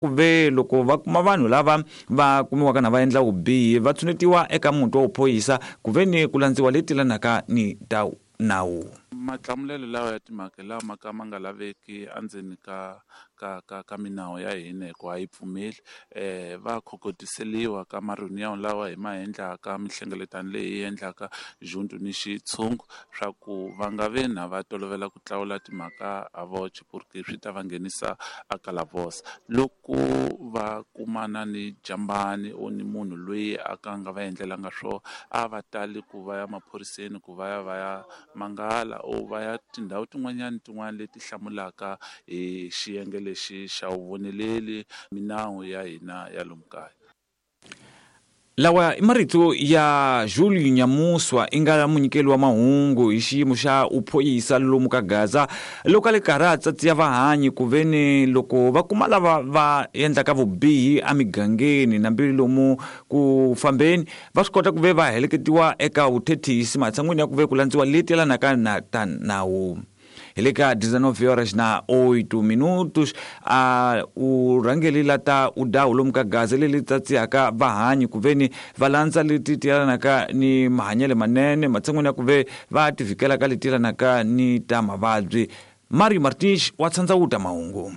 Ku ve loko va kuma vanhu lava va kumiwaka na va endla vubihi va tshunetiwa eka muti wa vuphorisa ku ve ni ku landziwa leti yelanaka ni ta nawu. Mahlamulelo lawa ya timhaka lama ka ma nga laveki endzeni ka ka ka ka minawu ya hina hikuva a yi pfumeli va khokotiseliwa ka ma-reunion lawa hi ma endlaka mihlengeletano leyi hi endlaka junto ni xitshungu swa ku va nga ve na va tolovela ku tlawula timhaka a voce porque swi ta va nghenisa a calabouço loko va kumana ni jambani or ni munhu loyi a ka nga va endlelanga swo a va tali ku va ya maphoriseni ku va ya va ya mangala or va ya tindhawu tin'wanyana tin'wana leti hlamulaka hi xiyenge lexi xa vuvoneleli minawu ya hina ya lomu kaya. Lawa i marito ya Julio Nyamuswa i nga munyikeli wa mahungu hi xiyimo xa uphoyisa lomu ka Gaza loko a le karhi a tsatsiya vahanyi ku ve ni loko va kuma lava va endlaka vubihi emigangeni nambi lomu ku fambeni va swi kota ku ve va heleketiwa eka vuthethisi matshan'wini ya ku ve ku landziwa leti yelanaka na ta nawu. Hi le ka 19 horas na 8 minutos a u rhangeli la ta u dawu lomu ka gaza leli tsatsihaka vahanyi ku veni va landza leti ti yelanaka ni mahanyelo manene matshan'wini ya ku ve va ti vhikela ka leti yelanaka ni ta mavabyi. Mario Martins wa tshandza wuta mahungu.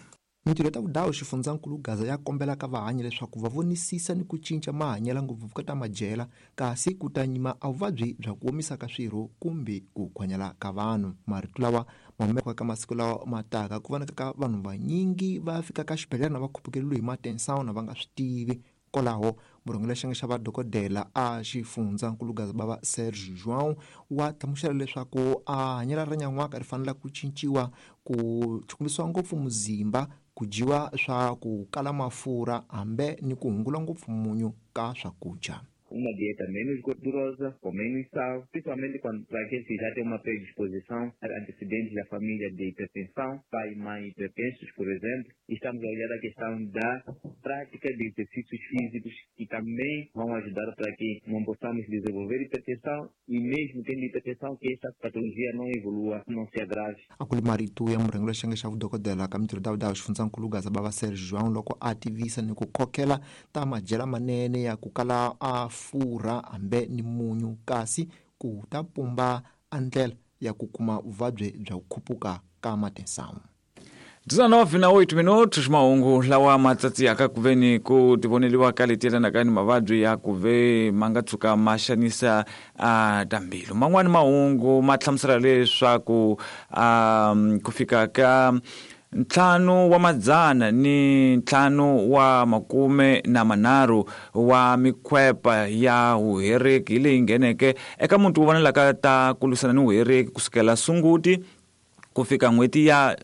Mintirho ya ta vudawu xifundzankulu Gaza ya kombela ka vahanyi leswaku va vonisisa ni ku cinca mahanyela ngopfu ka ta madyela kasi ku ta nyima a vuvabyi bya ku omisa ka swirho kumbe ku khwanyala ka vanhu. Marito lawa ma humeka ka masiku lawa ma taka ku vonaka ka vanhu vanyingi va fika ka xibedhlele na va khupukeriwe hi matensao na va nga swi tivi. Kwalaho, murhangeri wa xiyenge xa vadokodela a xifundzankulu Gaza Baba Serge João wa hlamusela leswaku a hanyelo ra nyan'waka ri fanele ku cinciwa ku chukumisiwa ngopfu muzimba, ku dyiwa swa ku kala mafurha hambe ni ku hungula ngopfu munyu ka swakudya. Uma dieta menos gordurosa, com menos sal, principalmente quando, para aqueles que já têm uma predisposição a antecedentes da família de hipertensão, pai e mãe hipertensos, por exemplo. Estamos a olhar a questão da prática de exercícios físicos que também vão ajudar para que não possamos desenvolver hipertensão e mesmo tendo hipertensão que esta patologia não evolua, não se agrave. A ku ri marito ya murhangeri wa xiyenge xa vudokodela ka mintirho Dawuda xifundzankulu Gaza Baba Serge João loko a tivisa ni ku khokhela ta madyela manene ya ku kala a furha hambe ni munyu kasi ku ta pumba a ndlela ya ku kuma vuvabyi bya ku khupuka ka matinsamu. 19 na 8 minutos mahungu lawa ma tsatsiyaka ku ve ni ku tivoneliwa ka leti yelanaka ni mavabyi ya ku ve ma nga tshuka ma xanisa a ta mbilu. Man'wani mahungu ma hlamusela leswaku a ku fika ka ntlhanu wa madzana ni ntlhanu wa makume na manharhu wa mikhwepa ya vuhereki leyi ngheneke eka muti wo vonelaka ta ku lwisana ni vuhereki kusukela Sunguti ku fika n'hweti ya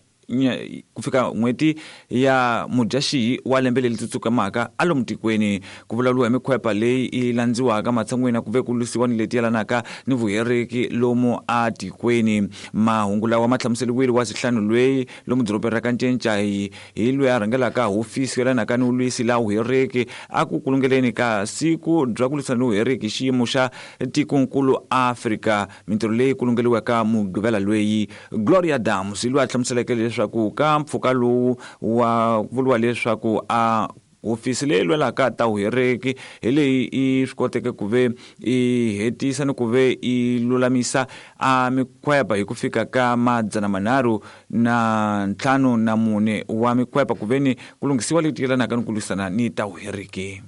ku fika n'hweti ya Mudyaxihi wa lembe leri tsutsukamaka a lomu tikweni. Ku vulavuriwa hi mikhwepa leyi yi landziwaka matshan'wini ya ku ve ku lwisiwa ni leti yelanaka ni vuhereki lomu a tikweni. Mahungu lawa ma hlamuseriwile wa sihlanu lweyi lomu dorobeni ra ka Ncencai hi loyi a rhangelaka hofisi yo yelanaka ni vulwisi la vuhereki a ku kulungeleni ka siku bya ku lwisana ni vuhereki hi xiyimo xa tikonkulu Afrika. Mintirho leyi kulungeliwaka Mugqivela lweyi Gloria Dams hi loyi a hlamuseleke leswaku ka mpfhuka lowu wa vuriwa leswaku a hofisi leyi lwelaka ta vuhereki hi leyi yi swi koteke ku ve yi hetisa ni ku ve yi lulamisa a mikhwepa hi ku fika ka 354 wa mikhwepa ku ve ni ku lunghisiwa leti yelanaka ni ku lwisana ni ta vuhereki.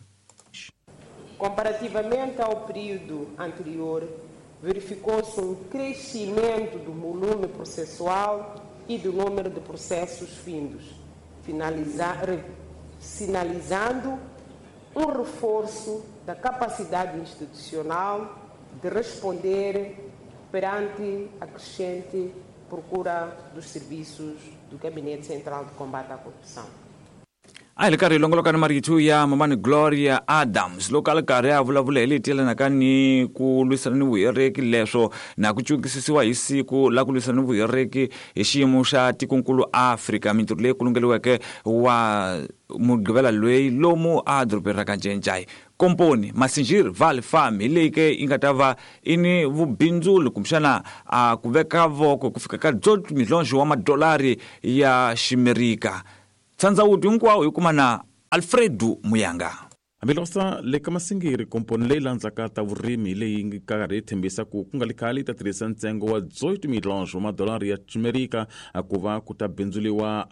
Comparativamente ao período anterior, verificou-se um crescimento do volume processual e do número de processos findos, sinalizando um reforço da capacidade institucional de responder perante a crescente procura dos serviços do Gabinete Central de Combate à Corrupção. A hi ri karhi hi longoloka ni marito ya Mamani Gloria Adams loko a ri karhi a vulavula hi leti yelanaka ni ku lwisana ni vuhereki leswo na ku cukisisiwa hi siku la ku lwisana ni vuhereki hi xiyimo xa tikonkulu Afrika mintirho leyi kulungeliweke wa Mugqivela loyi lomu a dorobeni ra ka Ncencai Komponi Masinjir Valley Farm hi leyi ke yi nga ta va i ni vubindzuli kumbexana a ku veka voko ku fika ka 18 milhonxo wa madolari ya Ximerika. Tshandzawuti hinkwawo hi kuma na. Alfredo Muyanga. Hambiloko le ka Masingiri, komponi leyi landzaka ta vurimi leyi nga karhi yi tshembisa ku nga li khale yi ta tirhisa ntsengo wa 18 milhões wa madolari ya Ximerika ku va ku ta bindzuliwa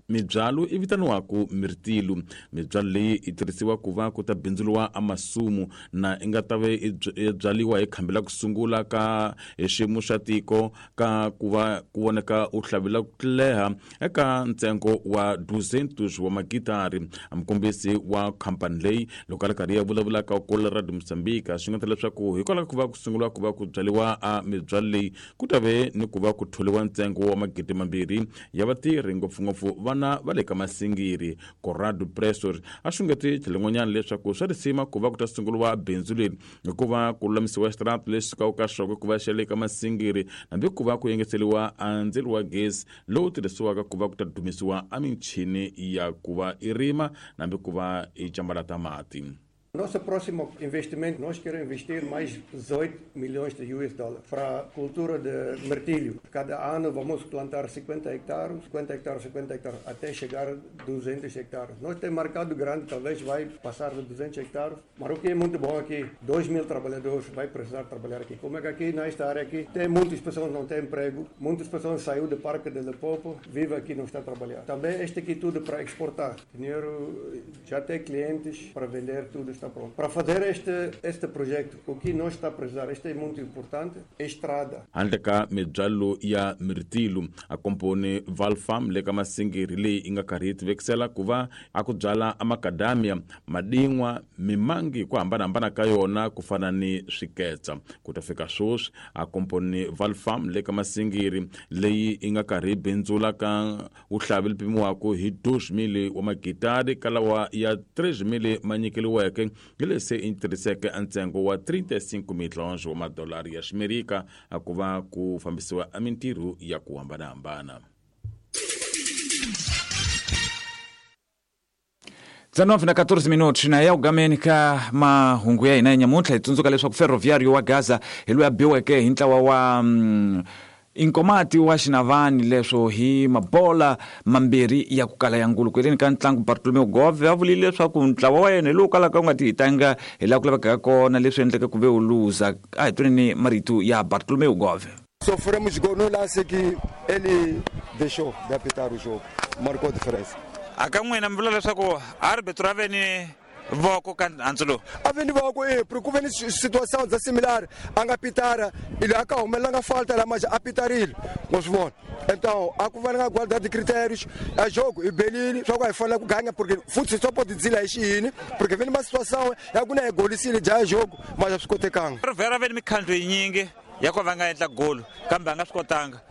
mibyalo i vitaniwaku mirtilu. Mibyalo leyi yi tirhisiwa ku va ku ta bindzuliwa amasumu na i nga ta ve i byaliwa hi khambi la ku sungula ka hi xiyimo xa tiko ka ku va ku voneka u hlavela ku leha eka ntsengo wa 200 wa magitari. Mukombisi wa khampani leyi loko a ri karhi ya vulavula ka kula Radio Mozambique swi nga ta leswaku hikwalaho ku va ku sungula ku va ku byaliwa a mibyalo leyi ku ta ve ni ku va ku tholiwa ntsengo wa 2,000 ya vatirhi, ngopfungopfu vana va le ka Masingiri. Corrado Presor a xungeti tlhelin'wanyana leswaku swa risima ku va ku ta sunguriwa bindzu leri hikuva ku lulamisiwa xitarata lexi sukaka ka xoko ku va xa le ka Masingiri, hambi ku va ku engeteriwa a ndzilo wa gezi lowu tirhisiwaka ku va ku ta dumisiwa a michini ya ku va i rima hambi ku va i cambalata mati. Nosso próximo investimento, nós queremos investir mais 18 milhões de US dólares para a cultura de mirtilho. Cada ano vamos plantar 50 hectares, 50 hectares, 50 hectares, até chegar a 200 hectares. Nós temos mercado grande, talvez vai passar de 200 hectares, mas o que é muito bom aqui, 2.000 trabalhadores vai precisar trabalhar aqui. Como é que aqui, nesta área aqui, tem muitas pessoas que não têm emprego, muitas pessoas saíram do Parque de Limpopo, vivem aqui e não estão a trabalhar. Também este aqui tudo para exportar. Dinheiro, já tem clientes para vender tudo. Está pronto. Para fazer este projeto, o que nós está a precisar, este é muito importante, estrada. Handle ka mibyalo ya mirtilu, a komponi Valfarm le ka Masingiri leyi yi nga karhi yi tivekisela ku va a ku byala amakadamia, madin'wa, mimangi ku hambanahambana ka yona ku fana ni swiketsa. Ku ta fika sweswi a komponi Valfarm le ka Masingiri leyi yi nga karhi yi bindzula ka vuhlavi pimiwaka hi 2,000 wa magitari ka lawa ya 3,000 ma nyikeliweke hi leswi yi tirhiseke ntsengo wa 35 milhões wa madolari ya Ximerika ku va ku fambisiwa mintirho ya ku hambanahambana. 19:14 minutos na ya ugameni ka mahungu ya hina nyamuntlha. Hi tsundzuka leswaku Ferroviário wa Gaza hi loyi a biweke hi ntlawa wa Inkomati wa Xinavani leswo hi mabola mambirhi ya ku kala ya ngulu. Ku ka ntlangu Bartolomeu Gove a vulile leswaku ntlawa wa yena hi lowu kalaka wu nga tihitanga hi laha ku lavekaka kona, leswi endleke ku ve wu luza. A hi tweni marito ya Bartolomeu Gove. Sofremos gol no lance que ele deixou de apitar o jogo, marcou diferença. A ka n'wina mi vula leswaku arbitro a ve ni voko ka handzu lowu? A ve ni voko porque ku ve ni situação za similar, a nga pitara, ele a ka humelanga falta la mas a pitarile, wa swi vona. Então, a ku va nga guardar de critérios, a jogo e belile, só que fala ku ganha porque futebol só pode dizer lá xini, porque vem uma situação ya ku na golisile ja jogo, mas a swi kotekanga. Rivera ve ni mikhandlu yinyingi ya ku va nga endla golo, kambe a nga swi kotanga.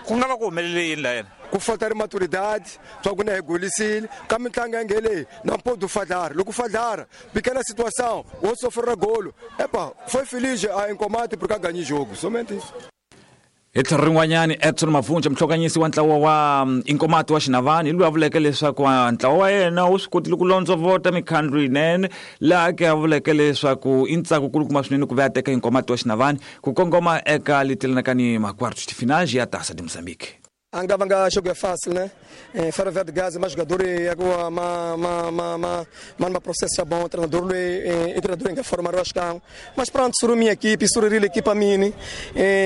Ku nga va ku humelele yini la yena? Ku falta maturidade, só que não é golisile, ka mitlangu ya ngele, não pode falhar, logo falhar, pequena situação, ou sofrer golo. Epa, foi feliz a Inkomati porque ganhou jogo, somente isso. Hi tlhelo rin'wanyani, Edson Mavunja, muhlokanyisi wa ntlawa wa Inkomati wa Xinavani, hi loyi a vuleke leswaku ntlawa wa yena wu swi kotile ku londzovota mikhandlu yinene, laha ke a vuleke leswaku i ntsako kulukumba swinene ku va ya teka Inkomati wa Xinavani ku kongoma eka leti yelanaka ni ma-quartos de finais ya Taça de Moçambique. Angava jogo é fácil, né? Ferroviário de Gaza, mas jogador é ma processo é bom, treinador é treinador em que formar o cão. Mas pronto, suru minha equipe, suru a equipa mini,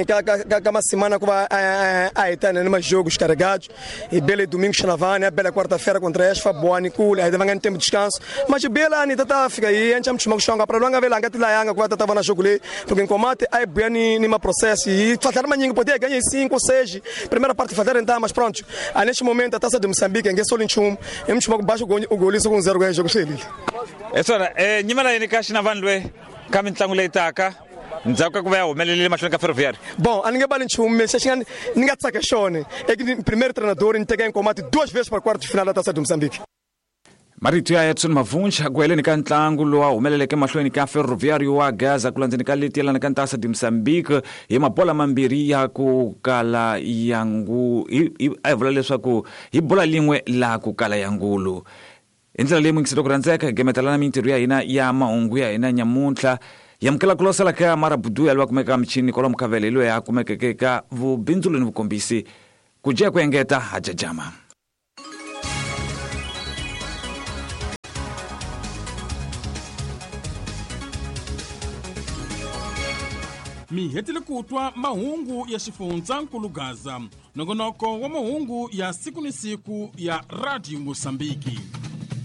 cada uma semana com a Etana, numa jogos carregados, e bela domingo Xanavane, bela quarta-feira contra a boa Nicole, aí vai ganhar tempo de descanso. Mas bela ani tata fica aí, a gente chama chonga para longa vela ngati la yanga kwa tata na jogo le, porque em combate aí bem ni ma processo e fazer maninho poder ganhar 5 6, primeira parte fazer mas pronto, neste momento a Taça de Moçambique é só 21, é muito baixo o gol com 0 ganha jogo dele. É só, nyimela yini ka Xinavani lwe ka mintlangu leyi taka ndzhaku ka ku va ya humelelile mahlweni ka Ferroviário? Bom, a ninguém bala nchumu, mas acho que ninguém saca xone. É que primeiro treinador entrega em combate duas vezes para quarto de final da Taça de Moçambique. Marito ya Edson Mavunja ku heleni ka ntlangu lowu a humeleleke mahlweni ka Ferroviário wa Gaza ku landzeni ka leti yelana ka Taça de Moçambique hi mabola mambirhi ya ku kala ya ngu a hi vula leswaku hi bola lin'we la ku kala ya ngulu. Hi ndlela leyi muyingiselo ku rhandzeka hi gemetelana mintirho ya hina ya mahungu ya hina nyamuntlha. Yamukela ku losela ka Marabudu ya loyi a kumekaka michini kwalomu ka vele loyi a kumekeke ka vubindzulu ni vukombisi. Ku dya ku engeta ha jajama. Mi hetile ku twa mahungu ya xifundzankulu Gaza, nongonoko wa mahungu ya siku ni siku ya Radio Mosambiki.